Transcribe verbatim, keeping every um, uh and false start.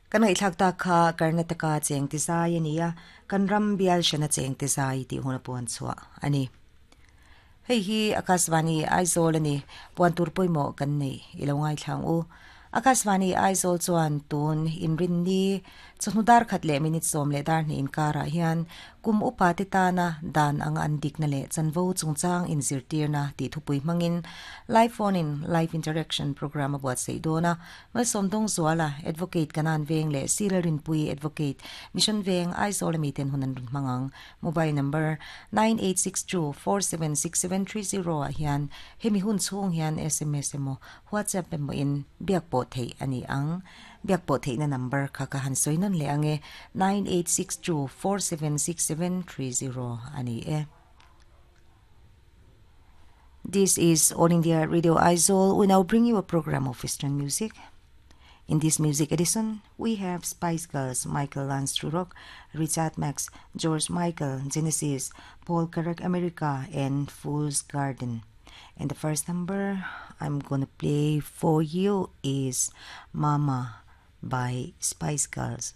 Kan ngaihthlak tak kha Karnataka cheng ti zai ania kan ram bial hrana cheng ti zai tih hun a puan chhuah ani. Hei hi Akashvani Aizawl ani puan tur pawimawh kan nei ilo ngaithlang u. Akashvani Aizawl chuan tun inrin ni chawhnu dar khat leh minute sawm leh dar hnih inkarah hian kum upa te tana dan anga an dikna leh chanvo chungchang inzirtirna tih thupui hmangin live phone in live interaction program a buatsaih dawn a. Malsawmdawng Zuala advocate Kanan Veng leh Sila Rinpui advocate Mission Veng Aizawl ami ten hun an rawn hmang ang. Mobile number nine eight six two four seven six seven three zero ah hian hemi hun chhung hian S M S emaw WhatsApp emaw in biak pawh theih a ni ang. Biak pawh theihna number kha ka han sawi nawn leh ang e, nine eight six two four seven six seven three zero a ni e. This is All India Radio Aizawl. We now bring you a program of Western music. In this music edition, we have Spice Girls, Michael Learns to Rock, Richard Marx, George Michael, Genesis, Paul Carrack America, and Fool's Garden. And the first number I'm gonna play for you is Mama by Spice Girls.